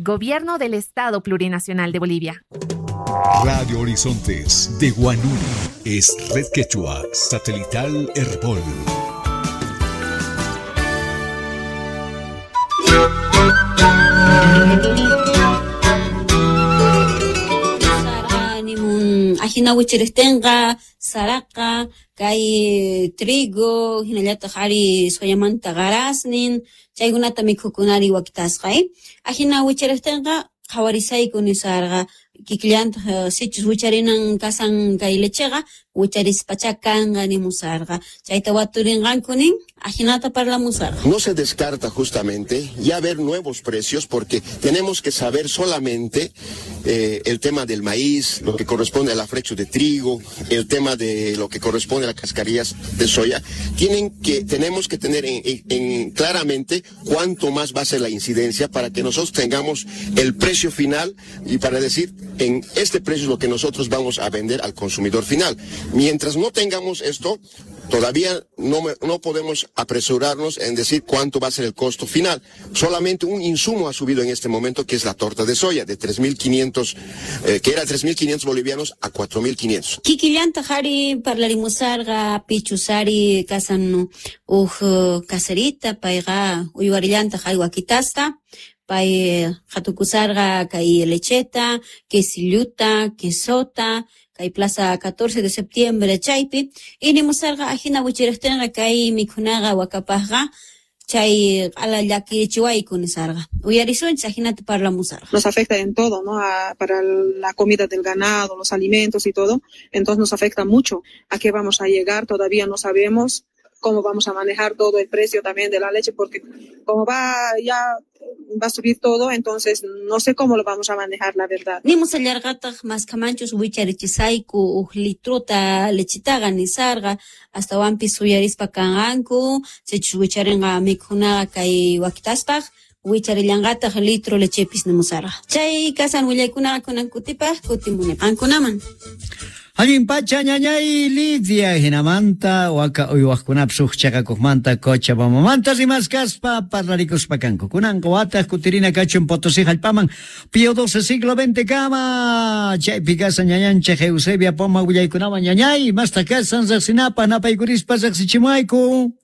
Gobierno del Estado Plurinacional de Bolivia. Radio Horizontes de Huanuni es Red Quechua Satelital Herbol. Ajina wichirihtinqa saraqa kay trigo hinallataq ari soyamanta qarasnin chaykunata mikhukunari wakitasqa ajina wichirihtinqa qhawarisayku nisarqa kikillantaq sichus wicharinan kasan kay lecheqa wicharispacha kanqa nimusarqa chayta waturinqanku nin ajinata parlamusarqa. No se descarta justamente ya ver nuevos precios porque tenemos que saber solamente el tema del maíz, lo que corresponde al afrecho de trigo, el tema de lo que corresponde a las cascarillas de soya. Tenemos que tener en claramente cuánto más va a ser la incidencia para que nosotros tengamos el precio final y para decir en este precio es lo que nosotros vamos a vender al consumidor final. Mientras no tengamos esto, todavía no podemos apresurarnos en decir cuánto va a ser el costo final. Solamente un insumo ha subido en este momento, que es la torta de soya, de 3.500, que era 3.500 bolivianos a 4.500. Kikillanta jari parlarimusarga pichusari kasan uj caserita payqa uywarillanta jari wakitasta. Pay hatukusarga kay lecheta, quesilluta, quesota, kay plaza 14 de septiembre chaypi, y nimusarga ajina wichirihtinqa kay mikhunaqa wakapajqa chay q'ala llakirichiwayku nisarqa. Uyarisunchis ajinata parlamusarqa. Nos afecta en todo, ¿no? Para la comida del ganado, los alimentos y todo, entonces nos afecta mucho. ¿A qué vamos a llegar? Todavía no sabemos cómo vamos a manejar todo el precio también de la leche, porque como va a subir todo, entonces no sé cómo lo vamos a manejar, la verdad. Nimusallarqataq maskamanchus wicharichisayku uj litruta lechitaqa nisarqa, astawanpis uyarispa kanqanku, sichus wicharinqa mikhunaqa kay wakitaspaq, wicharillanqataq litro lechepis nimusarqa. Chay kasan willaykunaqa kunan kutipaq kutimuni qankunaman. Allin pacha ñañay Lidia hinamanta waka uywaqkunapis uj chaqakuqmanta Cochabambamanta rimaskaspa parlarikuspa kanku. Kunanqa wataq kutirina kachun Potosí hallp'aman Pío XII siglo XX kama chaypi kasan ñañanchik Eusebia Poma willaykunawan ñañay mastaq kasan riqsinapaq napaykurispa riqsichimuayku.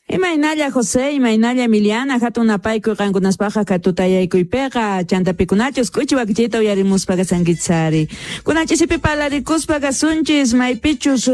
Imaynalla José, imaynalla Emiliana, hatun napaykuy qankunaspaqa katutayaykuypiqa, chantapikunachus k'uchi wakichiyta uyarimuspa kasankitsari. Kunachisipi parlarikuspa kasunchis, maypichus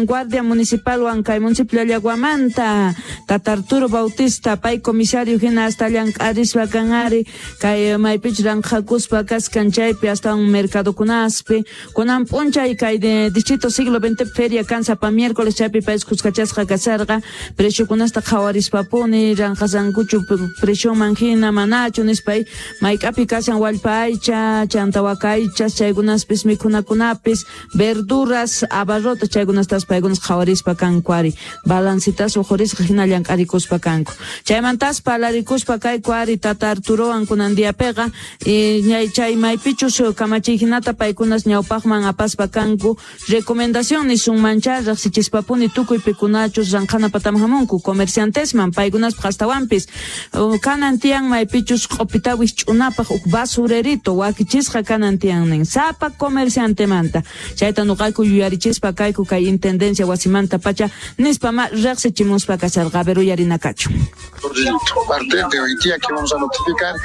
Guardia Municipalwan kay municipio Llaguamanta, Tata Arturo Bautista, pay comisario hina hasta llank'arispa kanari, kay maypichus ranqhakuspa kaskan chaypi hasta un mercadokunaspi. Kunan p'unchay kay distrito siglo XX feria kan sapa miércoles chaypi pay kuskachasqa kasarqa, preciokunasta qhawarispapuni ranqasankuchu presioman hina manachu nispay mayk'api kashan wallpa aycha chanta waka aychas chaykunaspis mikhunakunapis verduras abarrotas chaykunastas paykunas qhawarispa kanku ari balancitas uqhurisqa hina llank'arikuspa kanku chaymantas parlarikuspa kayku ari Tata Arturowan kunan diapiqa chay maypichus kamachiy hinata paykunas ñawpaqman apaspa kanku recomendación nisunmancha riqsichispapuni tukuy pikunachus ranqhana pataman hamunku comerciantesman paykunaspaq astawanpis kanan tiyan maypichus q'upita wisch'unapaq uj basurerito wakichisqa kanan tiyan nin sapa comerciantemanta chayta nuqayku yuyarichispa kayku kay intendencia wasimanta pacha nispa ma riqsichimuspa kasarqa a ver uyarinakachu. A partir de hoy día que vamos a notificar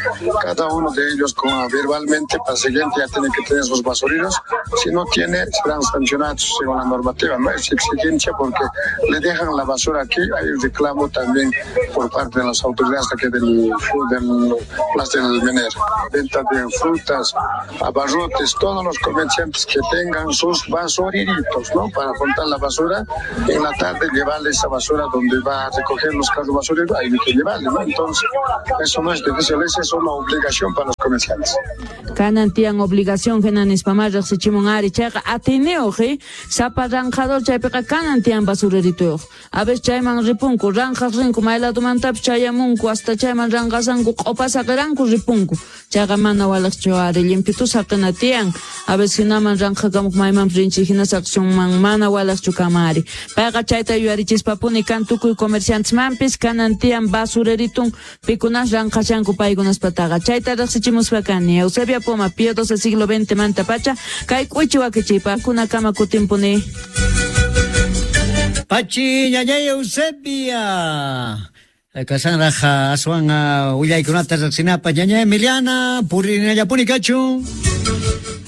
cada uno de ellos como verbalmente para el siguiente ya tienen que tener sus basureros, si no tiene serán sancionados según la normativa, no es exigencia porque le dejan la basura aquí, hay un reclamo también por parte de las autoridades aquí del Plaza del Mener, venta de frutas, abarrotes, todos los comerciantes que tengan sus basureritos, ¿no? Para juntar la basura, en la tarde llevarle esa basura donde va a recoger los carros basureros, hay que llevarle, ¿no? Entonces, eso no es difícil, esa es una obligación para los comerciantes. Kanan tiyan obligación hina nispamá riqsichimun ari chayqa atiniyuq sapa ranqador chaypiqa kanan tiyan basurerituyuq. A veces chayman ripunku, ranqaq rinku may ladomantapis chayamunku hasta chayman ranqasanku q'upa saqiranku ripunku. Chayqa mana waliqchu ari limpitu saqina tiyan. A veces hinaman ranqakamuq maymanpis rinchik hina saqsunman mana waliqchu kama ari. Payqa chayta yuyarichispapuni kan tukuy comerciantesmanpis kanan tiyan basureritun pikunas ranqashanku paykunaspataqa. Chayta riqsichimuspa kani Eusebia Poma, Pío XII siglo XX manta pacha, kay k'uchi wakichiypa kunakama kutimpuni. Pachi ñañay Eusebia. Kasanraj aswan willaykunata riqsinapaq ñañay Emiliana purinallapuni kachun.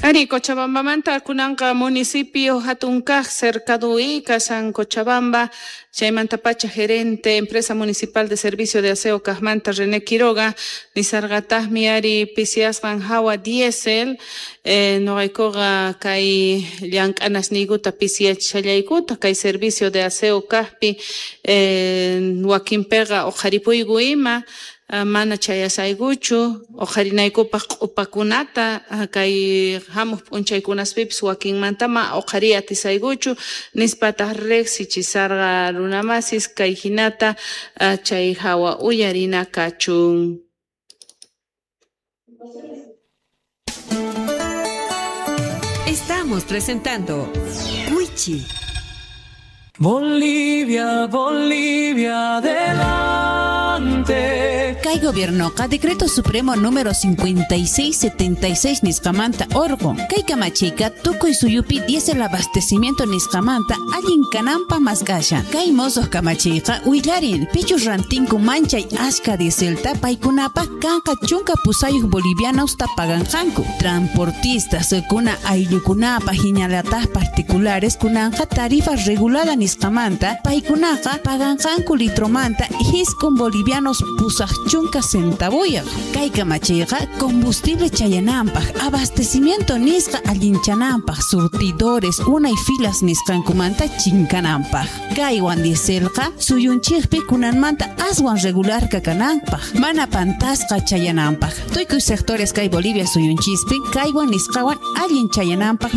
Ari, Cochabambamanta kunanqa municipio hatunkaq cercadui kasan Cochabamba chaymantapacha gerente empresa municipal de servicio de aseo kaqmanta René Quiroga nisarqataqmi ari pisiasqan hawa diésel noqaykuqa kay llank'anasniykuta pisiyachishallaykuta kay servicio de aseo kaqpi wakinpiqa uqharipuyku ima mana chayasaykuchu uqharinaykupaq q'upakunata kay hamuq p'unchaykunaspipis wakinmantama uqhariy atisaykuchu nispataq riqsichisarqa runamasis kay hinata chay hawa uyarina kachun. Estamos presentando Wichi. Bolivia, Bolivia, adelante. Kay gobiernoqa Decreto Supremo número 5676 nisqamanta orqun. Kay kamachiyqa tukuy suyupi diésel abastecimiento nisqamanta allin kananpaq mask'ashan. Kay mosuq kamachiyqa willarin pichus rantinku manchay ashka dieselta paykunapaq kanqa 18 bolivianosta paganqanku. Transportistas kuna ayllukunapaq hinallataq particulares kunanqa tarifa regulada nisqamanta paykunaqa paganqanku litromanta 9 bolivianos 80 centavuyaq. Kay kamachiyqa combustible chayananpaq, abastecimiento nisqa allinchananpaq, surtidores unay filas nisqankumanta chinkananpaq. Kaywan dieselqa suyunchikpi kunanmanta aswan regular kakananpaq, mana pantasqa chayananpaq. Tukuy sectores kay Bolivia suyunchispi kaywan nisqawan allin chayananpaq